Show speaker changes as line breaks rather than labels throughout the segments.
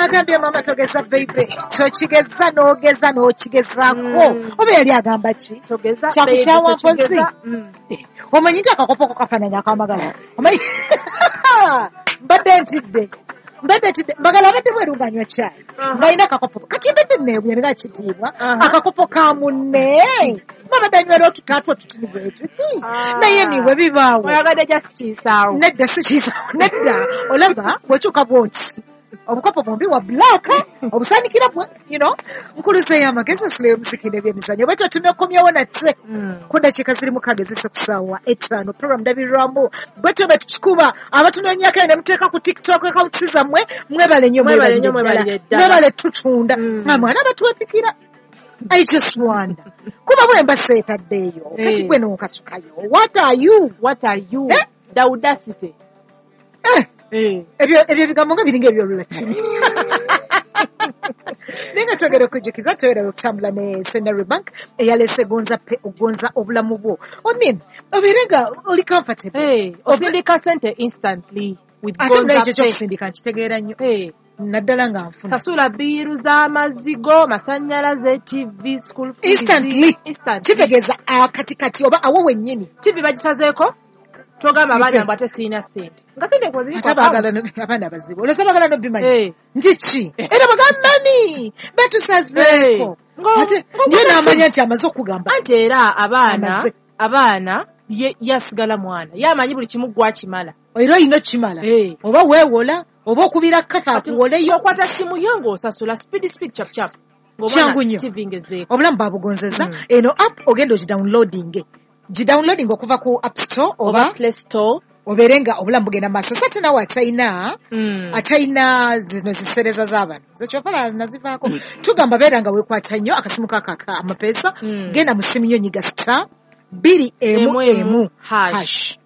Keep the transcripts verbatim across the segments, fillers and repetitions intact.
Agambye, "Mama, togeza baby, tokigeza n'ogeza n'okigezaako."
Mm.
Oba yali agamba ki?
Togeza.
Kyakukyawa
baby, tokigeza.
mpozi.
Mm.
Omanyi nti akakopoko kafaananya akamagala? Omanyi mbadde ntidde, mbadde ntidde mbagala abadde bweru ng'anywa caayi,
Aha.
ng'alina akakopo. Kati mbadde neebwe nga kitiibwa
Aha.
akakopo ka munne, babadde anywera otutaatu otutini bwe tuti.
Ah.
Naye niwe bibaawo.
Oyagadde just kiisaawo.
Nedda, si kiisaawo, nedda. Olaba bw'okyuka bwoti, obukopo bwombi wa black, obusaanikira bwe you know nkuluzeeyo amagezi asuleyo omusiki n'ebyemizannyo. Bwetyo tunekomyewo nate
Mm.
ku dakiika ziri mukaaga ezise ku ssaawa etaano. Program ndabirwamu, bwetyo bwe tukikuba. Abatunoonyako ne muteeka ku TikTok accounts zammwe, mwebale nnyo.
Mwebale nnyo,
mwebalire
mwebalire
ddala.
ddala.
Mwebale tutunda.
Mm.
Nga mwana abatuwepikira, I just wonder, kuba bwe mba seetaddeeyo kati
Eh.
gwe n'onkasukayo, what are you?
What are you?
Eh?
The audacity.
Eh,
Eh.
ebyo ebyo ebigambo nga biringa ebyolulatini. Naye nga twogera okujjukiza, twera okutambula ne Centenary Bank eyaleese Gonza Pay, ogonza obulamu bwo. I mean, obeere nga oli comfortable.
Eh, osindika sente instantly with
Ate
Gonza
munaye ekyo
Pay.
ekyokusindika nkitegeera nnyo,
Eh.
naddala nga nfuna.
Sasula bill z'amazzi go, masannyalaze, T V, school fees.
Instantly.
Instantly.
Kitegeeza akatikati oba awo wennyini.
T V bagisazeeko, togamba abaana mbu ate sirina ssente nga sente kweziri.
Ate abaagala no- abaana bazibu, olowooza baagala nobimanya
Eh.
nti ki? Era bagamba, "Mami, batusazeeko."
Eh. Ngo-
Ate
ngo-
ye n'amanya nti amaze okugamba.
Anti era abaana
Amaze.
abaana ye yasigala mwana, ye amanyi buli kimu gwakimala.
Era olina okimala.
Eh.
Oba weewola oba okubira kafa
Kati
akuwoleyo.
okwata simu yo ng'osasula speed speed, chap chap.
Kyangu nnyo.
T V ngezeeko.
Obulamu babugonzeza.
Mm.
Eno app ogenda ogidownloading, gidownloading okuva ku App Store
oba
oba
Play Store.
Obeere nga obulamu bugenda maaso. So ate naawe atalina
Mm.
atalina zino zisereza z'abano zekyopala nazivaako, tugamba beera nga weekwata nnyo akasimu kakaka amapeesa.
Mm.
Genda mu simu yo, nyiga star bbiri emu
emu
emu
emu hash.
Hash,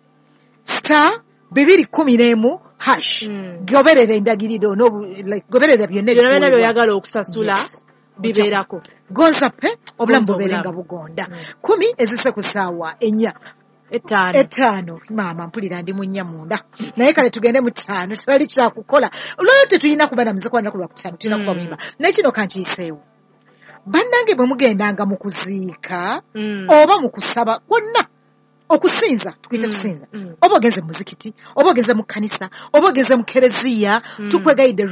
star bibiri kumi n'emu hash.
Mm.
Goberera endagiriro n'obu- like, goberera byonna
byonna byonna
ebikuweebwa.
By'oyagala okusasula
Yes.
bibeerako.
Gonza Pay, obulamu
Gonza
bubeere
obulamu.
nga bugonda.
Mm.
Kumi ezise ku ssaawa ennya.
Etaano.
Etaano. Maama, mpulira ndi mu nnya munda, naye kale tugende mu ttaano. Tewali kyakukola olwalwo, tetulina kuba na muziki wanaku lwa kutaano, tulina kuba
Mm.
muyimba. Naye kino kankiyiseewo, bannange, bwe mugendanga mu kuziika
Mm.
oba mu kusaba kwonna, okusinza tukuyita
Mm,
kusinza,
mm.
oba ogenze mu muzikiti, oba ogenze mu kkanisa, oba ogenze mu kereziya,
Mm.
tukwegayidde.